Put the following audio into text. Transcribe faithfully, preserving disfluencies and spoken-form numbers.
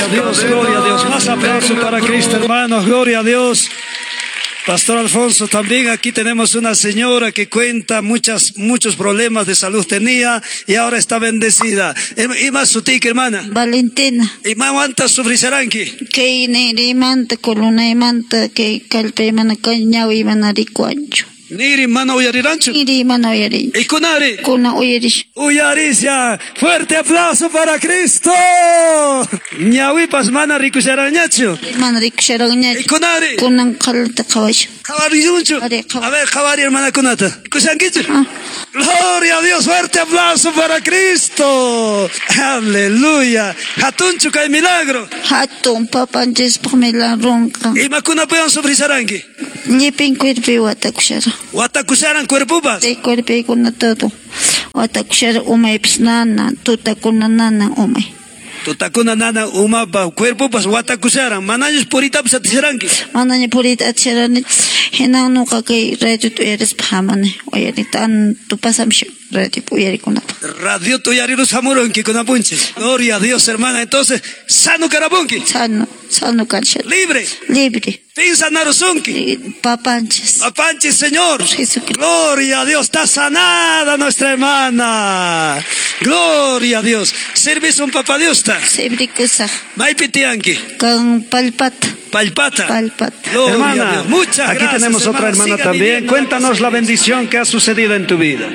Gloria a Dios, gloria a Dios. Más aplauso para Cristo, hermanos. Gloria a Dios. Pastor Alfonso, también aquí tenemos una señora que cuenta muchas, muchos problemas de salud tenía y ahora está bendecida. Ima sutiki, hermana. Valentina. Imamanta sufrisharanki. Kay niriymanta, colunaymanta, kay kallpaymanta, kay ñawiy mana rikuwanchu. Niri mana uyariranchu. Niri mana uyarinchu. Y kunari. Kuna uyarish. Uyarisha. Fuerte aplauso para Cristo. Ñawipas mana rikusharanñachu. Mana rikusharanñachu. Y kunari. Kunan qhalata qhawashan. Qhawarilunchu. A ver, qhawari hermanakunata. Rikushankichu. Ah. Gloria a Dios, fuerte aplauso para Cristo. Aleluya. Hatunchu kay milagro. Hatun papanchispaq milagronqa. Imakunapiwan sufrisharanki. Llipin cuerpoy watakusharan. Watakusharan cuerpopas. Sí, cuerpoykuna todo. Watakushara umaypis nana, tutakuna nana umay. Tutakuna nana umapa, cuerpopas watakusharan. Manañus puritapas atisharanki. Manaña purita atisharani. Hinan nuqa kay radiota uyarispa hamani. Uyari tanto pasamsha radio uyarikunapaq. Radio uyarirus hamurunki kunapunchis. Gloria a Dios, hermana. Entonces, sano karapunki. Sano, sano kashan. Libre. Libre. Pin sanarusunki. Papanchis. Papanchis, Señor. Jesucristo. Gloria a Dios, está sanada nuestra hermana. Gloria a Dios. Servis un papá Dios ta. Servikusaq. Maypi tiyanki. Con palpata. Palpata. Palpata. Gloria Hermana, a Dios. Muchas aquí gracias, tenemos otra hermana Siga también. viviendo la Cuéntanos la presencia. bendición que ha sucedido en tu vida.